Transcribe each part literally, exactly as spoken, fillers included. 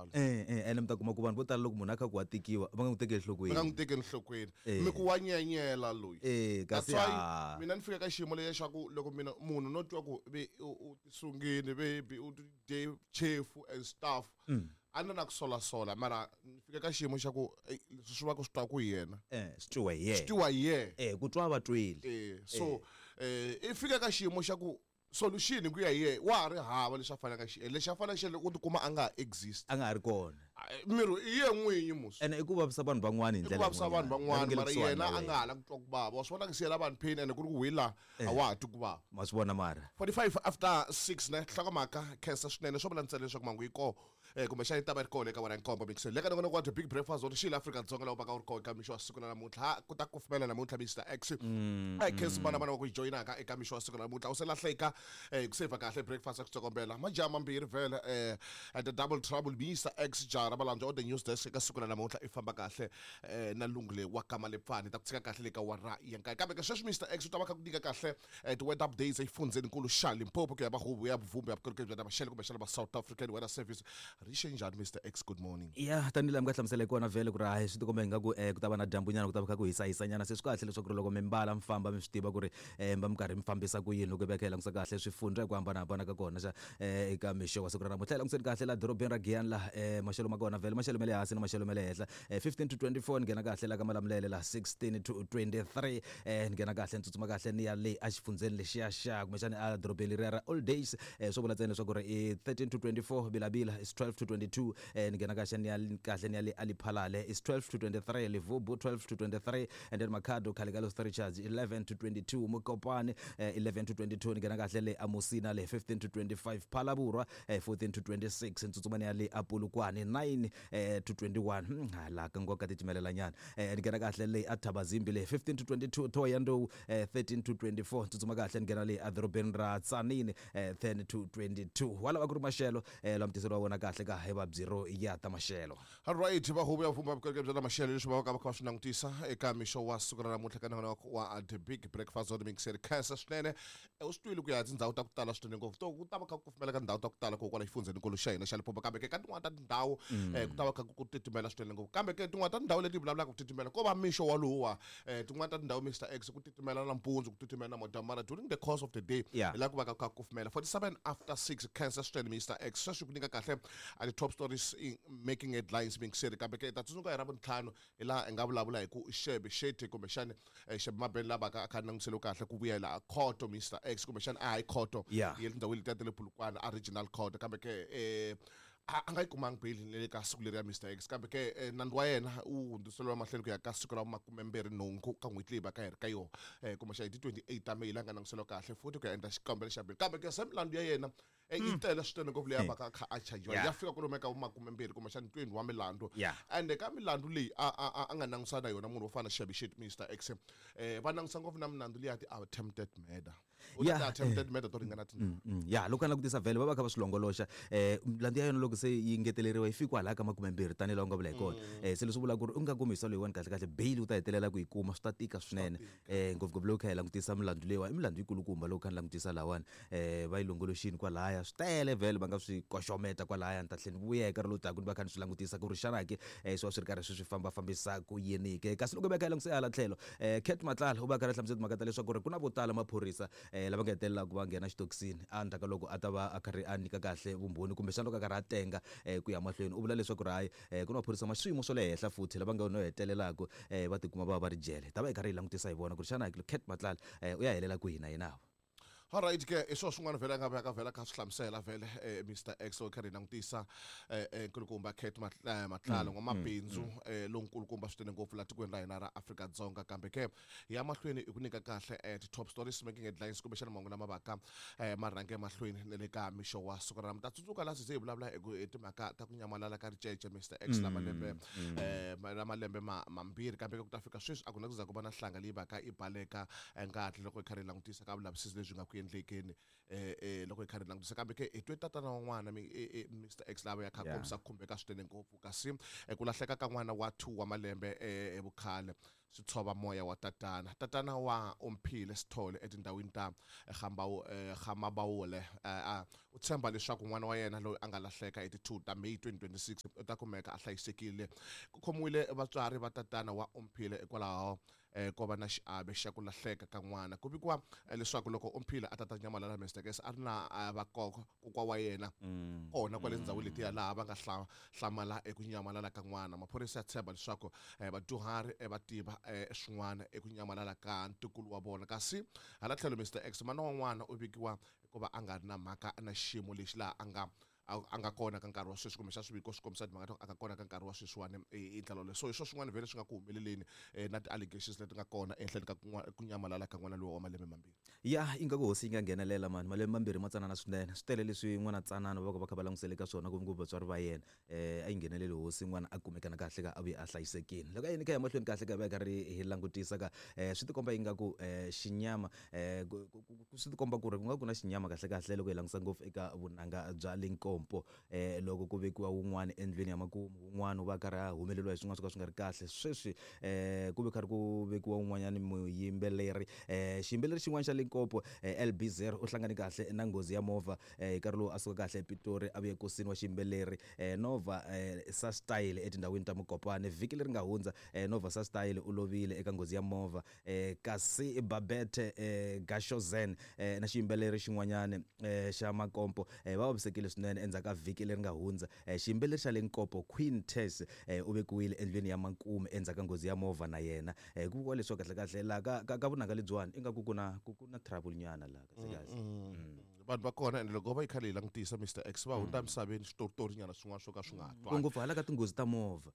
njalo eh eh ene mi ta kuma ku vanhu vo tala loko munhu a kha ku wa tikiwa va nga n'wi tekeli enhlokweni va nga n'wi tekeli enhlokweni Eh. mi ku wa nyenyela loyi eh That's kasi why ah, mina ni fika ka xiyimo lexa xa ku loko mina munhu no twa ku ve u u tisungile baby u dye chefu and stuff a ni na ku solasola mara ni fika ka xiyimo xa ku eh, leswi swi va ku swi twa ku hi yena eh swi twiwa hi swi yena twiwa hi yena eh ku twa va twile eh so eh i fika ka xiyimo xa ku solution hi ku ya hi yena wa ha ri hava leswi a faneleke a xi endla lexi a faneleke a xi endla i ku tikuma a nga ha exist a nga ha ri kona miri i ye n'winyi musi ene i ku vavisa vanhu van'wana hi i ku ndlela vavisa vanhu yin'wanyana. van'wana Lava nge le mara kusuhani yena na a wena. nga ha la ku twa ku vava wa swi vona ku siyela vanhu pain ene ku ri ku wila a wa ha twi ku vava ma swi vona mara forty-five after six ne nhlokomhaka khensa swinene swo vula ntsena leswaku mangu yi koho um kumbexana yi ta va yi ri kona eka wena nkombo mixeni le ka nongonoko wa the big breakfast wa xila Afrika-Dzonga laha u vaka u ri kona eka mixo wa siku ra namuntlha Ha, ku ta kufumela namuntlha Mister X a hi khensi vana vana va ku yi joyinaka eka mixo wa siku ra namuntlha u se lahleka um ku sevha kahle breakfast ya ku tsokombela majaha mambirhi vhele um the double trouble Mister X jara valandza on the news desk eka siku ra namuntlha i famba kahle um na lungu wa kama lepfani ta ku tshika kahle le ka wara ya nkaye kambe ke sweswi Mister X u ta va kha ku nyika kahle eh, ti-weather updates exifundzeni nkulu xa Limpopo ku ya va huvo ya vuvumbi ya vukorhokeri bya maxelo kumbexana va South African Weather Service ri xe njhani Mister X good morning ya tanihi laha mi nga hlamusela hi kona vhele ku ri hayi swi tikomba ingaku um ku ta va na dyambunyana ku ta va kha ku hisahisanyana se swi kahle leswaku ri loko mi mbala mi famba mi swi tiva ku ri um va mi karhi mi fambisa ku yini loko hi va kha hi langutisa kahle swifundza hi ku hambanahambana ka kona xa um eka mixo wa siku ra namuntlha hi langutiseni kahle laha dorobeni ra Giyani laha um maxelo ma kona vhele maxelo ma le hansi na maxelo ma le henhla um fifteen to twenty-four ni nghena kahle la ka Malamulele laha sixteen to twenty-three um ni nghena kahle ni tsutsuma kahle ni ya le exifundzeni lexiya xa kumbexani a dorobeni leriya ra Old Days um swo vula ntsena leswaku ri i thirteen to twenty-four Bilabila is twelve to twenty-two um ni nghena kahle ni ya kahle ni ya le Aliphalale is twelve to twenty-three Levubu twelve to twenty-three and then Makhado Khale Richards eleven to twenty-two Mokopane eh, eleven to twenty-two ni nghena kahle le Amusina le fifteen to twenty-five Phalaborwa eh, fourteen to twenty-six ntsutsuma ni ya le Apulukwane nine eh, to twenty-one hmm, hala ka nkoka titimelelanyana eh, ni nghena kahle le Athabazimbi le fifteen to twenty-two Thohoyandou eh, thirteen to twenty-four tsutsuma kahle ni nghena le edorobeni ra Tzaneen eh, ten to twenty-two wala ku ri maxelo eh, lama tiseriwa wona kahle ka hi va bureau ya ta maxelo alright va huvo ya vumba vukorhokeri bya ta maxelo leswi va va ka va kha va swi langutisa eka mixo wa siku ra namuntlha ka nongonoko wa the big breakfast on mixer khensa swinene Eh, u swi twile ku ya tindhawu ta ku tala swinene ngopfu to ku ta va kha ku kufumela ka tindhawu ta ku tala ko kwala xifundzeni nkulu xa hina xa Limpopo kambe ke ka tin'wana ta tindhawu eh, ku ta va kha ku titimela swinene ngopfu kambe ke tin'wana ta tindhawu leti hi vulavulaka ku titimela ko va mixo walowa um tin'wana ta tindhawu Mister X ku titimela nampundzu ku titimela na mara during the course of the day Yeah. hi laha ku va ka kha ku kufumela forty-seven after six khensa swinene Mister X sweswi ku nyika kahle a ti top stories in making headlines mixer kambe ke ta tsundzuka hi ra vuntlhanu hi laha hi nga vulavula hi ku Shebe Shetty kumbexani eh, Shebe Mabeni lava ka a kha a langutiseliwe kahle ku vuyela a khoto Mister X kumbexani a high court Yeah. ya tindhawini letiya ta le Polokwane a regional court kambe ke eh a a nga yi kumangi bail ni le ka siku leriya Mister X kambe ke eh, nandzu wa yena wu hundziseriwa mahlweni ku ya ka siku ra makumembirhi nhungu ka n'hweti leyi va ka hi ri ka yona um kumbexana hi ti twenty-eight ta May laha nga langutiseriwa kahle futhi ku ya endla xikombelo xa bail kambe ke se milandzu ya yena eh, yi tele swinene ngopfu leyi a va ka a kha a chajiwa Yeah. ya fika kwalomu ka makumembirhi kumbexana twenty wa milandzu Yeah. ende ka milandzu leyi a a a- a nga langusana na yona munhu wo fana na Shebe Shetty Mister X eh va langusa ngopfu na milandzu liya ti attempted murder u Yeah, ta attempted murder to ringana tinharhu Mm, ya loko a langutisa vhele va va kha va swi longoloxa um milandzu ya yona loko se yi ngeteleriwa yi fiki kwalaya ka makumembirhi tanihi laha u nga vula hi kona um se leswi vulaka ku ri u nga kumi hi loyiwani kahle kahle bail u ta hetelela ku yi kuma swi ta tika swinene um ngopfungopfu loko kha hi langutisa milandzu leyiwa i milandzu yikulukumba loko kha ni langutisa lahawani um va yi longoloxini kwalaya swi tele vhele va nga swi koxometa kwalaya ni ta tlhela ni vuya hi nkarhi lowu taka ni va kha ni swi langutisa ku ri xana ke um swi va swi ri karhi swi swi fambafambisa ku yini ke kasi loko hi va kha hi langutisa hala tlhelo um Cat Matlala u va kha ri hlamusela timhaka ta leswaku ri ku na vo tala maphorisa um lava nga hetelelaka va nghena xitokisini endzhaku ka loko a ta va a karhi a nyika kahle vumbhoni kumbexana loko a karhi a tenga um ku ya mahlweni u vula leswaku ri hayi um ku na maphorisa ma swiyimo swa le henhla futhi lava nga no hetelelaka um va tikuma va va va ri jele ta va hi karhi hi langutisa hi vona ku ri xana Cat Matlala um u ya helela kwihi na yena alright ke i swona swin'wana vhele a nga va ka vhela kha swi hlamusela vhele eh, Mister X loko kha ri langutisa eh, eh, nkulukumba Cat Matla- Matlala n'wamabindzu eh, lonkulukumba swinene ngopfu laha tikweni ra hina ra Afrika-Dzonga kambe ke hi ya mahlweni i ku nyika kahle eh, ti-top stories making headlines kumbexana mahungu lama vaka eh, ma rhange emahlweni na le ka mixo wa siku ra ta tsundzuka laha se hi vulavula hi ku hi timhaka ta ku nyamalala ka ricece Mister X la malembe eh, ma- la malembe ma mambirhi kambe ke ku ta fika sweswi a ku na ku za ku va na nhlanga leyi vaka i baleka eh, ngati loko hi karhi hi langutisa ka vulavisisi lebyi nga ku endlekeni eh, eh, loko hi karhi hi langutisa kambe ke hi twe tatana wa n'wana mi- eh, eh, Mister X lava ya kha Yeah. kombisa ku khumbeka swinene ngopfu kasi eh, ku lahleka ka n'wana wa two wa malembe eh, evukhale swi tshova moya wa tatana tatana wa Omphile Sithole etindhawini ta Gamabawule u tshemba leswaku n'wana wa yena loyi a nga lahleka hi ti two ta May twenty twenty-six u ta kumeka a hlayisekile ku khomiwile vatswari va tatana wa Omphile hikwalaho ko va na xiave xa ku lahleka ka n'wana ku vikiwa leswaku loko Omphile a tata nyamalala Mister X a ri na vakokwa kokwa wa yena kona kwale ndhawini letiya laha va nga hlamala eku nyamalala ka n'wana maphorisa ya tshemba leswaku vadyuhari va tiva swin'wana eku nyamalala ka ntukulu wa vona kasi hala tlhelo Mister X mana wa n'wana u vikiwa hikuva a nga ri na mhaka na xiyimo lexi laha a nga a nga kona ka nkarhi wa sweswi kumbe xa swiviko swi kombisa timhaka ta a nga kona ka nkarhi wa sweswiwani hi ndlela leyi so hi swo swin'wana vhele swi nga ku humeleleni na ti-allegations leti nga kona ehenhleni ka ku nyamalala ka n'wana loyi wa malembe mambirhi ya ingaku hosi yi nga nghenelela mani malembe mambirhi ma tsanana swinene swi tele leswi n'wana tsanana va va kha va langusele ka swona ngopfungopfu vatswari va yena um a yi ngheneleli hosi n'wana a kumekana kahle ka a vuye a hlayisekile loko a yini ka ya mahlweni kahle ka va karhi hi langutisa ka um swi tikomba ingaku um xinyama um swi tikomba ku ri ku nga ku na xinyama kahle kahle loko hi langusa ngopfu eka vunanga bya Limpopo eh loko ku vekiwa wun'wana endlwini ya makumu wun'wana u va karhi a humeleriwa hi swin'wana swo ka swi nga ri kahle sweswi eh ku ve karhi ku vekiwa wun'wanyana muyimbeleri eh xiyimbeleri xin'wana xa Limpopo L B zero u hlangane kahle na nghozi ya movha hi nkarhi lowu a suka kahle ePitori a vuye ekosini wa xiyimbeleri Nova Sastyle etindhawini ta Mokopane vhiki leri nga hundza Nova Sastyle u lovile eka nghozi ya movha kasi Babette Gashozen na xiyimbeleri xin'wanyana xa Makompo va vavisekile swinene endzhaku ka vhiki leri nga hundza xiyimbeleri xa Limpopo Queen Tess u vekiwile endlwini ya makumu endzhaku ka nghozi ya movha na yena ku vuriwa leswaku kahle kahle laha ka ka ka vunanga lebyiwani ingaku ku na ku na trouble nyana laha kahle kahle vanhu va kona ende loko va yi khale yi langutisa Mister X va hundza emisaveni switoritori nyana swin'wana swo ka swi nga twali ngopfu hala ka tinghozi ta movha.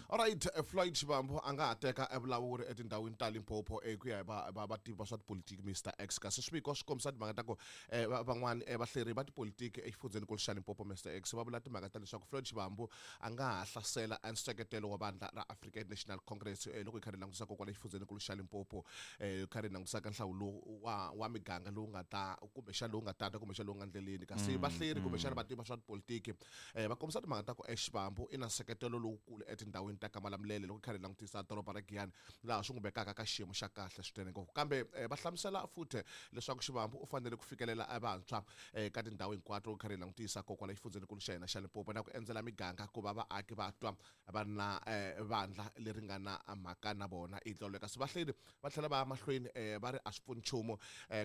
All right, Floyd Shivambu a nga ha teka evulawuri etindhawini ta Limpopo ku ya hi va va vativi va swa tipolitiki Mister X kasi swiviko swi kombisa timhaka ta ku van'wani vahleri va tipolitiki exifundzhenikulu xa Limpopo Mister X va vula timhaka ta leswaku Floyd Shivambu a nga ha hlasela nseketelo wa vandla ra African National Congress loko hi karhi hi langutisa kwala exifundzhenikulu xa Limpopo hi karhi hi langutisa ka nhlawulo wa wa miganga lowu nga ta kumbexana lowu nga tata kumbexana lowu nga ndleleni kasi vahleri kumbexana vativi va swa tipolitiki va kombisa timhaka ta ku Shivambu i na nseketelo lowukulu etindhawini ta Kamalamulele loko karhi langutisa doroba ra Giyani laha swi n'wi vekaka ka xiyimo xa kahle swinene ngopfu kambe va hlamusela futhi leswaku Shivambu u fanele ku fikelela evantshwa ka tindhawu hinkwato loko karhi langutisa kokwala exifundzhenikulu xa hina xa Limpopo na ku endzela miganga ku va vaaki va twa va na vandla leri nga na mhaka na vona hi ndlela kasi vahleri va tlhela va ya mahlweni va ri a swi pfuni nchumu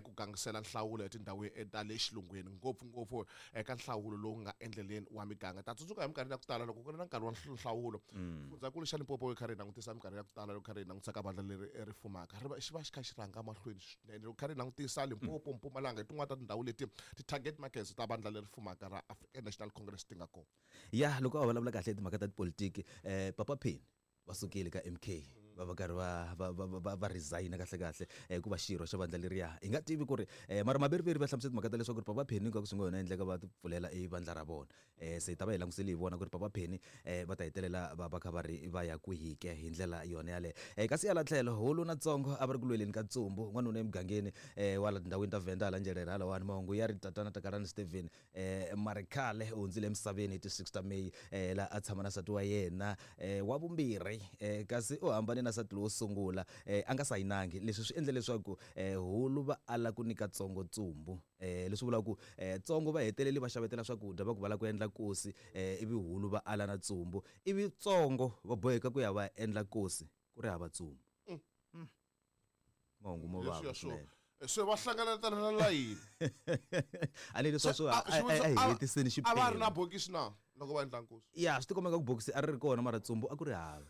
ku gangisela nhlawulo etindhawini ta le xilungwini ngopfungopfu eka nhlawulo lowu nga endleleni wa miganga ta tsundzuka hi minkarhi ya ku tala loko ku ri na nkarhi wa nhlawulo fundzhankulu xa Limpopo yi karhi yi langutisa minkarhi ya ku tala loko karhi yi langutisa ka vandla leri ri fumaka ri va xi va xi kha xi rhanga mahlweni swinene loko karhi yi langutisa Limpopo Mpumalanga hi tin'wana ta tindhawu leti ti-target markets ta vandla leri fumaka ra African National Congress ti nga kona ya loko a vulavula kahle timhaka ta tipolitiki um Papa Penny va sukile ka M K va va karhi va va va va resign kahle kahle hikuva xirho xa vandla leriya hi nga tivi ku ri mara maveriveri va hlamusela timhaka ta leswaku ri Papa Penny ingaku swi nga yona endleka va pfulela e vandla ra vona se hi ta va hi langusele hi vona ku ri Papa Penny va ta hetelela va va kha va ri va ya kwihi ke hi ndlela yona yaleyo kasi hala tlhelo hulu na Tsongo a va ri ku lweleni ka ntsumbu n'wanuna emugangeni wa la tindhawini ta Venda hala Njelele halawani mahungu ya ri tatana Takalani Steven Marikhale u hundzile emisaveni hi ti six ta May laha a tshama na nsati wa yena wa vumbirhi kasi u hambane na nsati lowo sungula a nga sayinangi leswi swi endle leswaku hulu va ala ku nyika Tsongo ntsumbu leswi vulaka ku Tsongo va heteleli va xavetela swakudya va ku va lava ku endla nkosi ivi hulu va ala na ntsumbu ivi Tsongo va boheka ku ya va endla nkosi ku ri hava ntsumbu mahungu mo vava swinene se va hlanganetana na layini a ni leswi swo a hi hetiseni xiphemu a va ri na bokisi na loko va endla nkosi ya swi tikomba ku bokisi a ri ri kona mara ntsumbu a ku ri hava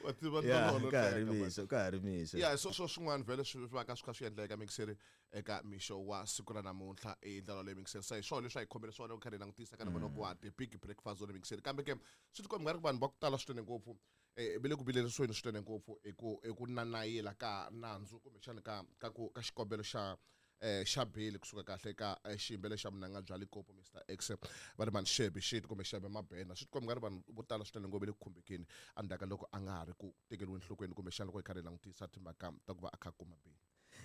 wa tiva ka ha ri mixo ka ha ri mixo ya so swo swin'wana vhele swi va ka swi kha swi endleka mixeri eka mixo wa siku ra namuntlha hi ndlela leyi mixeri se hi swona leswi a hi khomele swona loko karhi hi langutisa ka nongonoko wa the big breakfast zone mixeri kambe ke swi tikomba nga ri ku vanhu va ku tala swinene ngopfu va le ku vilerisiweni swinene ngopfu hi ku hi ku nanayila ka nandzu kumbexana ka ka ku ka xikombelo xa eh xa beli kusuka kahle ka xiyimbeleri xa vunanga bya Limpopo Mister X va ri mani Shebe shit kumbe Shebe Mabena swi tikomba nga ri vanhu vo tala swinene ngopfu le ku khumbekeni endzhaku ka loko a nga ha ri ku tekeriweni enhlokweni kumbexana loko hi karhi hi langutisa timhaka ta ku va a kha a kuma beli.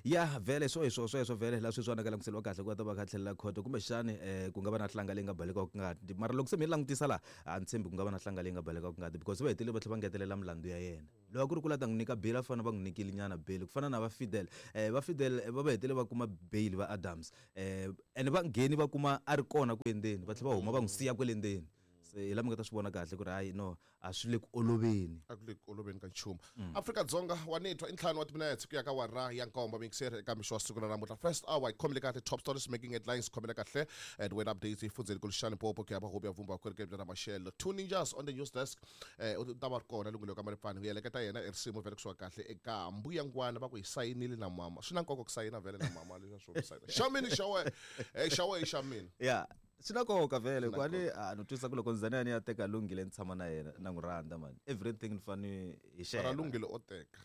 Ya vhele swo hi swo sweswo vhele la sweswiwani ka langutiseliwa kahle ku va ta va kha tlhelela khoto kumbexani um ku nga va na hlanga leyi nga balekaka ngati mara loko se mi langutisa laha a ni tshembi ku nga va na hlanga leyi nga balekaka ngati because va hetelele va tlhela va ngetelela milandzu ya yena loko a ku ri ku la ta n'wi nyika bail a fana va n'wi nyikile nyana bail ku fana na va Fidel um va Fidel va va hetelele va kuma bail va Adams um ene va ngheni va kuma a ri kona ku endzeni va tlhela va huma va n'wi siya kwele ndzeni se hi la mi nga ta swi vona kahle ku ri hayi no a swi le ku oloveni a ku le ku oloveni ka nchumu Afrika-Dzonga wa nitwa i ntlhanu wa timinetse ku ya ka wara ya nkombo mixer eka mixo wa siku ra namuntlha first hour hi khomile kahle top stories making headlines khomile kahle and when updates hi fundzeni kuluxani popo ku ya va hobi ya vumba vukorhokeri bya ramashelo two ninjas on the news desk eh u ta va ri kona lunghelo ka maripfani ku yeleketa yena i risimu vhele kusuka kahle eka mbuyangwana va ku hi sayinile na mama swi na nkoka ku sayina vhele na mama leswi swo sayina xa mina xa wena eh xa wena i xa mina ya swi na nkoka vhele Swi na ku a ni a no twisa ku loko ndzani ya ni ya teka lunghile ni tshama na yena na n'wi rhandza mani everything ni fane hi mara share lunghile o teka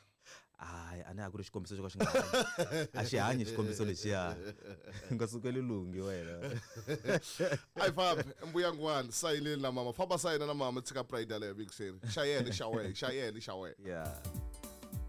hayi a ni a ku ri xikombiso xo ka xi nga hanyi a xi hanyi xikombiso lexiya u nga sukeli lunghi wena a hi fambi mbuyangwana sayinile na mama famba sayina na mama tshika pride yaleyo mixer xa yena i xa wena xa yena i xa wena ya